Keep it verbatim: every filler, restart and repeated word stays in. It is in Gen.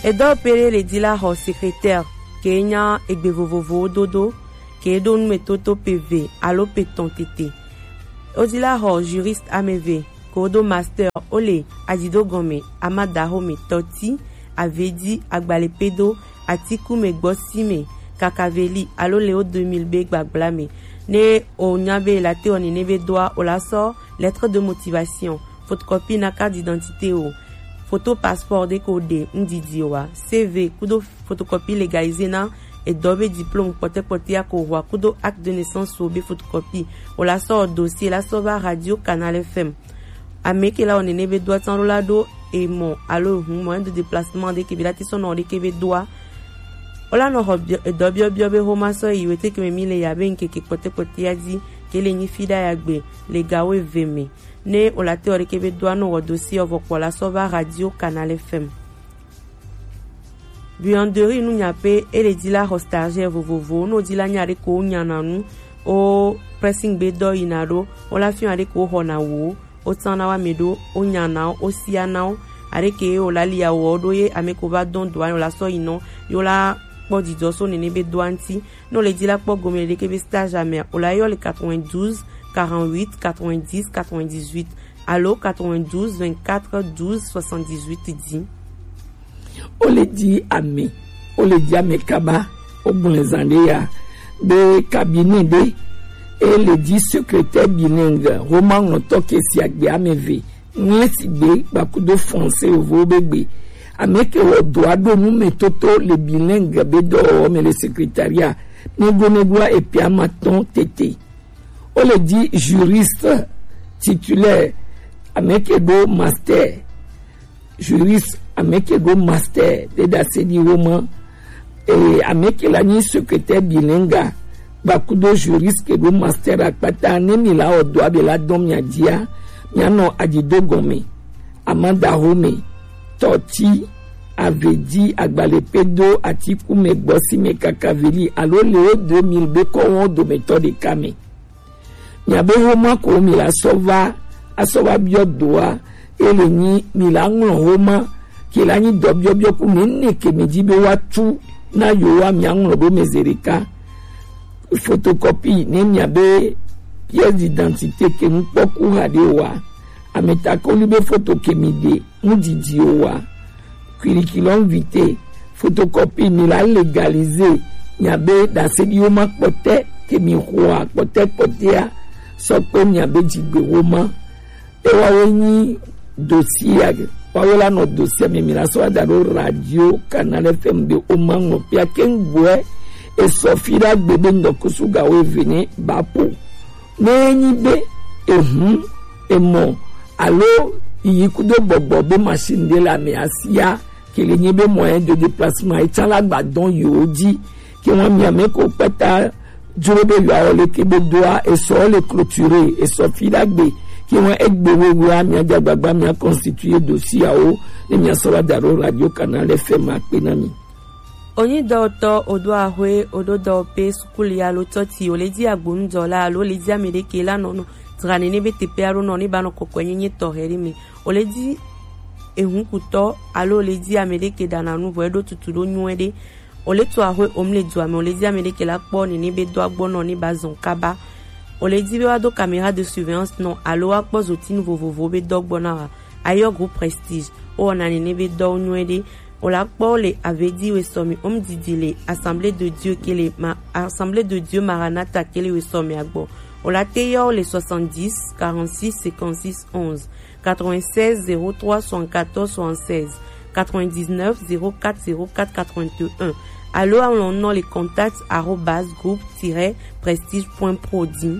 Edɔ pele le di la xɔ secrétaire ke nya egbe vovovowo dodo ke ɖo numetoto pe ve alo pe tɔn tete. Wo di la xɔ juriste ameve ko do master wo le adzido gɔme, amadaxome, tɔti, avedi, agbalepedo, atikume, gbɔsime, kakaveli alo le wo deux mille be gbagbla me. Ne o nya be la te wɔ nene be doa, o la sɔ lettre de motivation, photocopie na carte d'identité o, photo passeport de ko de ndidi wa, C V kudo photocopie légalisée na edɔ be diplôme kpɔtɛkpɔtɛ ya ko wa kudo acte de naissance o be photocopie. O la sɔ dossier la sɔ va Radio Canal F M. Ame ke la wɔ nene be doa tsan ɖo la ɖo emɔ alo hun moyen de déplacement de ke be la ti sɔ nɔ de ke be doa. O la nɔ xɔ edɔ biɔbiɔ be xoma sɔ yi wete ke me mi le ya be nkeke kpɔtɛkpɔtɛ ya di ke le nyi fi ɖa ya gbe le gawo eve me. Ne o la te wɔ de ke be doa nɔ wɔ dossier ɔ vɔ kpɔ la sɔ va Radio Canal F M. Buanderie nu nya pe e le di la xɔ stagiaire vovovo, no di la nya de ko nya na nu o pressing be dɔ yi na ɖo, o la fiɔ de ko xɔ na wo, o tsan na wa me ɖo, o nya na wo, o sia na wo, a de ke o la li ya wɔ ɖo ye ame ko va dɔn doa o la sɔ yi nɔ, yo la kpɔ didɔ so nene be doa ŋti. No le di la kpɔ gome le de ke be stage amea, o la yɔ le quatre-vingt-douze, quarante-huit, quatre-vingt-dix, quatre-vingt-dix-huit alo quatre-vingt-douze, vingt-quatre, douze, soixante-dix-huit di. O le di ame, o le di ame kaba, o gblẽ zã ɖe ya be cabinet ɖe e le di secrétaire bilingue, xoma ŋlɔtɔ ke si agbe ameve, ŋlẽ si gbe gbakudo français yovowo be gbe. Ame ke wɔ doa ɖo numetoto le bilingue be dɔwɔwɔ me le secrétariat negonegoa epia ma tɔn tete. O le di juriste titulaire, ame ke ɖo master, juriste ame ke ɖo master de ɖase ɖi wo ma. Eye ame ke la nyi secrétaire bilingue gbakudo juriste ke ɖo master akpata, ne mi la wɔ doa be la dɔn mia dia, mia nɔ adzido gɔme, amadaxome, tɔti, avedi, agbalepedo, atikume, gbɔsime, kakaveli alo le wo deux mille be kɔwo dometɔ ɖeka me. Miabe xoma ko mi la sɔ va, asɔ va biɔ doa, e le nyi mi la ŋlɔ xoma ke la nyi dɔ biɔbiɔ ku nene ke mi di be wa tu na yo wa mia ŋlɔ ɖo me ze ɖeka. Photocopie ne miabe pièce d'identité ke ŋkpɔku ha ɖe wa, ametakoli be foto ke mi ɖe ŋdidi o wa, curriculum vitae, photocopie mi la légaliser miabe ɖaseɖiwo ma kpɔtɛ ke mi xɔa kpɔtɛkpɔtɛa sɔ kpe miabe dzigbewo ma. Ewawo nyi dossier, wawo la nɔ dossier me mi la sɔ da ɖo Radio Canal F M be o ma ŋlɔ pia ke ŋgbɔɛ esɔ fi ɖa gbe be ŋdɔkusu gawo eve ne ba po. Ne enyi be ehun emɔ alo yiyi kudo gbɔgbɔ be machine ɖe le ame asia ke le nyi be moyen de déplacement etsa la gba dɔn yewo dzi ke ŋua mia me ko kpata dzro be yewoawɔ leke be doa esɔ le clôturer esɔ fi ɖa gbe ke ŋua egbe wewe a mia dza gbagba mia constituer dossier awo ne mia sɔ va da ɖo Radio Canal F M akpe na mi. Onyi dɔwɔtɔ, odo axwe, odo dɔwɔƒe, sukulu alo tɔti, o le di agbonudɔla alo o le di ame ɖe ke la nɔ nɔ dzra nene be teƒe alo nɔ ne ba nɔ kɔkɔe nyenye tɔxɛ ɖe me. O le di ehunkutɔ alo o le di ame ɖe ke ɖana nu vɔ eɖo tutu ɖo nyuie ɖe. O le to axwe o mu le dua me, o le di ame ɖe ke la kpɔ nene be dɔa gbɔ nɔ ne ba zɔn kaba. O le di be wa do caméra de surveillance nɔ alo wa kpɔ zotinu vovovowo be dɔ gbɔ na wa. Ayɔ groupe Prestige, o wɔna nene be dɔwo nyuie ɖe. O la kpɔ le avedi wesɔmi omdidi le Assemblée de Dieu ke le ma Assemblée de Dieu Maranatha ke le wesɔmi agbɔ. O la te yɔ le soixante-dix, quarante-six, cinquante-six, onze, quatre-vingt-seize, zéro trois, soixante-quatorze, soixante-seize, quatre-vingt-dix-neuf, zéro quatre, zéro quatre, quatre-vingt-un. Alo alɔn nɔ le contact arobase groupe tiret prestige point pro di.